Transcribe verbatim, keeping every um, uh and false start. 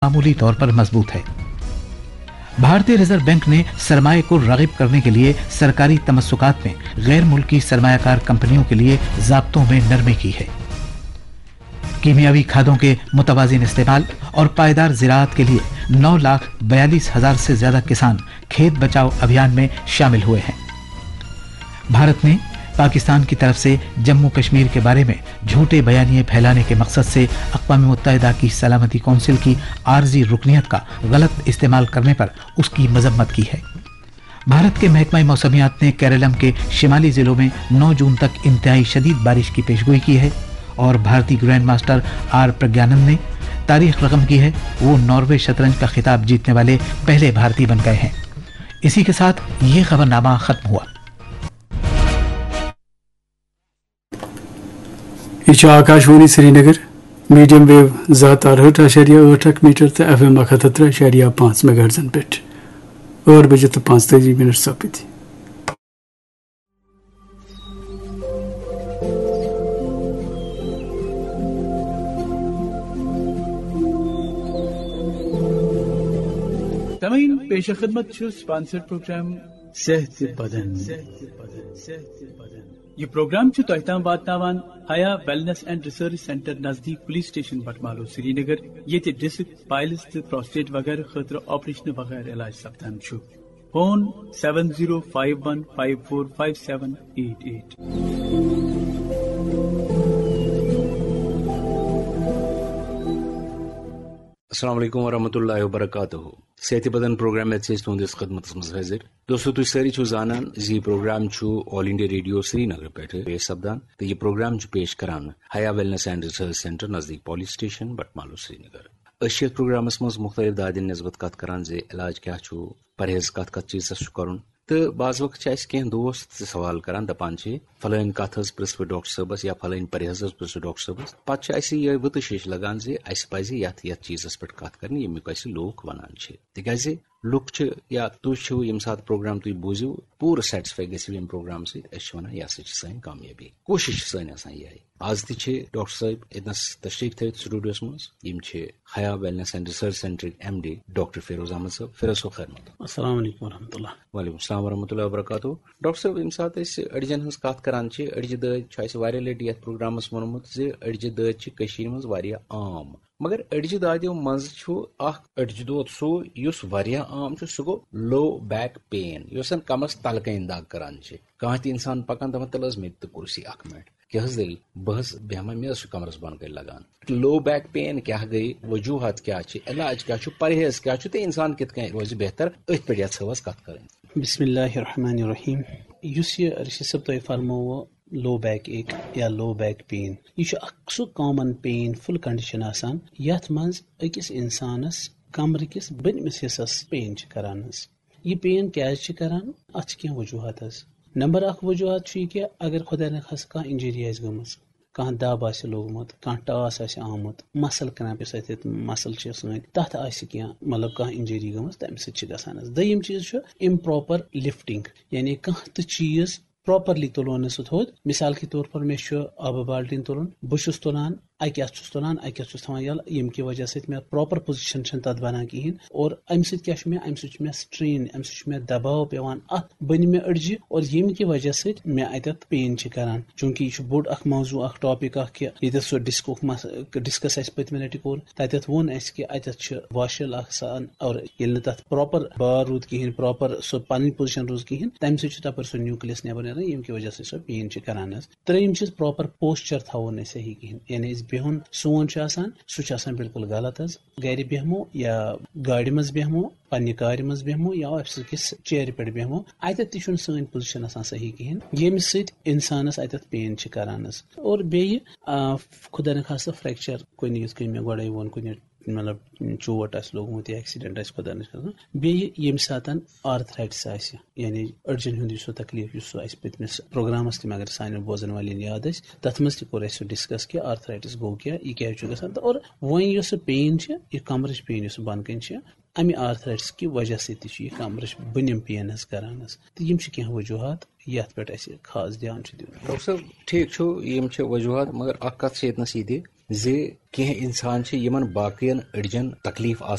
معمولی طور پر مضبوط ہے۔ بھارتی ریزرو بینک نے سرمایہ کو راغب کرنے کے لیے سرکاری تمسکات میں غیر ملکی سرمایہ کار کمپنیوں کے لیے ضابطوں میں نرمی کی ہے۔ کیمیاوی کھادوں کے متوازن استعمال اور پائیدار زراعت کے لیے نو لاکھ بیالیس ہزار سے زیادہ کسان کھیت بچاؤ ابھیان میں شامل ہوئے ہیں۔ بھارت نے پاکستان کی طرف سے جموں کشمیر کے بارے میں جھوٹے بیانیے پھیلانے کے مقصد سے اقوام متحدہ کی سلامتی کونسل کی عارضی رکنیت کا غلط استعمال کرنے پر اس کی مذمت کی ہے۔ بھارت کے محکمہ موسمیات نے کیرلم کے شمالی ضلعوں میں نو جون تک انتہائی شدید بارش کی پیشگوئی کی ہے اور بھارتی گرینڈ ماسٹر آر پرگیانند نے تاریخ رقم کی ہے۔ وہ ناروے شطرنج کا خطاب جیتنے والے پہلے بھارتی بن گئے ہیں۔ اسی کے ساتھ یہ خبرنامہ ختم ہوا۔ یہ چھُ آکاشوانی سرینگر، میڈیم ویو زٕ ہتھ تہٕ ارہٲٹھ اعشاریہ ٲٹھ اکھ میٹر تہٕ ایف ایم اکھ ہتھ تہٕ ترٛےٚ اعشاریہ پانٛژھ میگا ہرٹزن پٮ۪ٹھ۔ ٲٹھ بجے تہٕ پانٛژتٲجی منٹ سپٕدۍ۔ سامعین، پیش خدمت چھُ sponsored program صحت بدن۔ یہ پروگرام چھُ تۄہہِ تام واتناوان حیا ویلنس اینڈ ریسرچ سینٹر نزدیک پولیس سٹیشن بٹمالو سرینگر، ییٚتہِ ڈسک، پائلز تہٕ پروسٹیٹ وغیرہ خٲطرٕ آپریشن وغیرہ علاج سپدان چھُ۔ Phone seven zero five one five four five seven eight eight۔ السلام علیکم ورحمۃ اللہ وبرکاتہ۔ صحت بدن پروگرام ہیتھ چھِ أسۍ تُہنٛدِس خدمتس منٛز حٲضِر۔ دوستو، تُہۍ سٲری چھِو زانان زِ یہِ پروگرام چھُ آل انڈیا ریڈیو سرینگر پٮ۪ٹھٕ پیش سپدان تہٕ یہِ پروگرام چھُ پیش کران حیا ویلنس اینڈ ریسرچ سینٹر نزدیک پولیس سٹیشن بٹمالو سرینگر۔ أسۍ چھِ یتھ پروگرامس منٛز مختلف دادٮ۪ن نسبت کتھ کران زِ علاج کیٛاہ چھُ، پرہیز کتھ کتھ چیٖزس چھُ کرُن۔ تہٕ بعض وقت چھِ اَسہِ کینٛہہ دوست تہِ سوال کران، دپان چھِ، فلٲنۍ کتھ حظ پرژھ بہٕ ڈاکٹر صٲبس یا فلٲنۍ پرہیز حظ پرژھ بہٕ ڈاکٹر صٲبس۔ پتہٕ چھِ اَسہِ یِہوٚے وٕتٕش ہِش لگان زِ اَسہِ پزِ یتھ یتھ چیٖزس پٮ۪ٹھ کتھ کرٕنۍ، ییٚمیُک اَسہِ لوٗکھ ونان چھِ۔ تِکیازِ لُکھ چھِ، یا تُہۍ چھِو، ییٚمہِ ساتہٕ پروگرام تُہۍ بوٗزِو، پوٗرٕ سیٹسفائی گٔژھِو ییٚمہِ پروگرام سۭتۍ۔ أسۍ چھِ ونان، یہِ ہسا چھِ سٲنۍ کامیٲبی۔ کوٗشش چھِ سٲنۍ آسان یِہے۔ از تہِ چھِ ڈاکٹر صٲب ییٚتنس تشریف تھٲوِتھ سٹوڈیوس منٛز۔ یِم چھِ حیا ویلنس اینڈ ریسرچ سینٹرٕکۍ M D doctor Feroz Ahmad صٲب۔ فیروز صٲب، خیر مقدم۔ السلام علیکم ورحمۃ اللہ۔ وعلیکم السلام ورحمۃ اللہ وبرکاتہ۔ ڈاکٹر صٲب، ییٚمہِ ساتہٕ أسۍ أڈجن ہٕنٛز کتھ کران چھِ، أڈجہِ دٲدۍ چھُ اَسہِ واریاہ لٹہِ یتھ پروگرامس ووٚنمُت زِ أڈجہِ دٲدۍ چھِ کٔشیٖرِ منٛز واریاہ عام۔ مگر أڈجہِ دادیو منٛز چھُ اکھ أڈجہِ دود سُہ، یُس واریاہ عام چھُ، سُہ گوٚو لو بیک پین، یۄس زن کمرس تلہٕ کنۍ دگ کران چھِ۔ کانٛہہ تہِ انسان پکان، دپان، "تلہٕ حظ مےٚ تہِ تہٕ کُرسی اکھ منٹ، کیٛاہ حظ دٔلیٖل؟ بہٕ حظ بیٚہمہٕ، مےٚ حظ چھُ کمرس بۄن کنۍ لگان۔" لو بیک پین کیٛاہ گٔے، وجوہات کیٛاہ چھِ، علاج کیٛاہ چھُ، پرہیز کیٛاہ چھُ تہٕ انسان کِتھ کٔنۍ روزِ بہتر، أتھۍ پٮ۪ٹھ یژھو أسۍ کتھ کرٕنۍ۔ بسم اللہ الرحمن الرحیم۔ یُس یہِ رشید صٲب تۄہہِ فرمووُ لو بیک ایک یا لو بیک پین، یہِ چھُ اکھ سُہ کامن پینفل کنڈیشن آسان یتھ منٛز أکِس انسانس کمرٕ کِس بٔنمِس حصس پین چھِ کران حظ۔ یہِ پین کیازِ چھِ کران؟ اتھ چھِ کینٛہہ وجوہات حظ۔ نمبر اکھ وجوہات چھُ یہِ کہِ اگر خۄدا نخواستہٕ کانٛہہ انجری آسہِ گٔمٕژ، کانٛہہ دب آسہِ لوٚگمُت، کانٛہہ ٹاس آسہِ آمُت، مسل کرٛیمپ یۄس اَتٮ۪تھ مسل چھِ سٲنۍ، تَتھ آسہِ کینٛہہ، مطلب، کانٛہہ انجری گٔمٕژ، تَمہِ سۭتۍ چھِ گژھان حظ۔ دوٚیِم چیٖز چھُ improper lifting، یعنی کانٛہہ تہِ چیٖز پراپرلی تُلو نہٕ سُہ تھوٚد۔ مثال کے طور پر مےٚ چھُ آبہٕ بالٹیٖن تُلُن، بہٕ چھُس تُلان، اَکہِ اَتھٕ چھُس تُلان، اَکہِ اَتھٕ چھُس تھاوان یَلہٕ، ییٚمہِ کہِ وجہ سۭتۍ مےٚ پراپر پوزیشن چھَنہٕ تَتھ بَنان کِہیٖنۍ۔ اور اَمہِ سۭتۍ کیٛاہ چھُ مےٚ؟ اَمہِ سۭتۍ چھُ مےٚ strain، اَمہِ سۭتۍ چھُ مےٚ دباو پٮ۪وان اَتھ بٔنمہِ أڈجہِ، اور ییٚمہِ کہِ وجہ سۭتۍ مےٚ اَتٮ۪تھ پین چھِ کران۔ چوٗنٛکہِ یہِ چھُ بوٚڑ اکھ موضوع، اکھ ٹاپک اکھ، کہِ ییٚتٮ۪تھ سُہ ڈسکُک مس-، ڈسکس اَسہِ پٔتمہِ لٹہِ کوٚر، تَتٮ۪تھ ووٚن اَسہِ کہِ اَتٮ۪تھ چھُ واشل اکھ آسان، اور ییٚلہِ نہٕ تَتھ پراپر بار روٗد کِہیٖنۍ، پراپر سُہ پنٕنۍ پوزیشن روٗز کِہیٖنۍ، تَمہِ سۭتۍ چھُ تَپٲرۍ سُہ نیوٗکلیس نٮ۪بر نیران، ییٚمہِ کہِ وجہ سۭتۍ سۄ پین چھِ کران حظ۔ ترٛیٚیِم چیٖز، پراپر پوسچر تھاوو نہٕ أسۍ صحیح کِہیٖنۍ، یعنی أسۍ بِہُن سون چھُ آسان، سُہ چھُ آسان بالکل غلط حظ۔ گرِ بیٚہمو یا گاڑِ منٛز بیٚہمو، پننہِ کارِ منٛز بیٚہمو یا آفسہٕ کِس چیرِ پٮ۪ٹھ بیٚہمو، اَتٮ۪تھ تہِ چھُنہٕ سٲنۍ پوزیشن آسان صحیح کِہیٖنۍ، ییٚمہِ سۭتۍ اِنسانَس اَتٮ۪تھ پین چھِ کران حظ۔ اور بیٚیہِ، آ، خۄدا نخواستہٕ فریکچر کُنہِ، یِتھ کٔنۍ مےٚ گۄڈَے ووٚن، کُنہِ مطلب چوٹ آسہِ لوٚگمُت یا ایکسیڈنٹ آسہِ خۄدا نخواستہٕ، بیٚیہِ ییٚمہِ ساتَن آرتھرایٹس آسہِ، یعنی أڈجن ہُنٛد یُس سُہ تکلیف یُس سُہ اَسہِ پٔتمِس پروگرامس تہِ، مگر سانٮ۪ن بوزن والٮ۪ن یاد آسہِ، تَتھ منٛز تہِ کوٚر اَسہِ سُہ ڈسکس کہِ آرتھرایٹس گوٚو کیٛاہ، یہِ کیٛازِ چھُ گژھان۔ تہٕ اور وۄنۍ یۄس سُہ پین چھِ، یہِ کمرٕچ پین یۄس سُہ بۄنہٕ کَنہِ چھِ، اَمہِ آرتھرایٹس کہِ وجہ سۭتۍ تہِ چھُ یہِ کمرٕچ بٔنِم پین حظ کران حظ۔ تہٕ یِم چھِ کینٛہہ وجوہات یَتھ پٮ۪ٹھ اَسہِ خاص دیان چھُ دیُن۔ ڈاکٹر صٲب، ٹھیٖک چھُ، یِم چھِ وجوہات، مگر اکھ کتھ چھِ ییٚتنس یہِ تہِ زِ کینٛہہ انسان چھِ یِمن باقین أڈجن تکلیف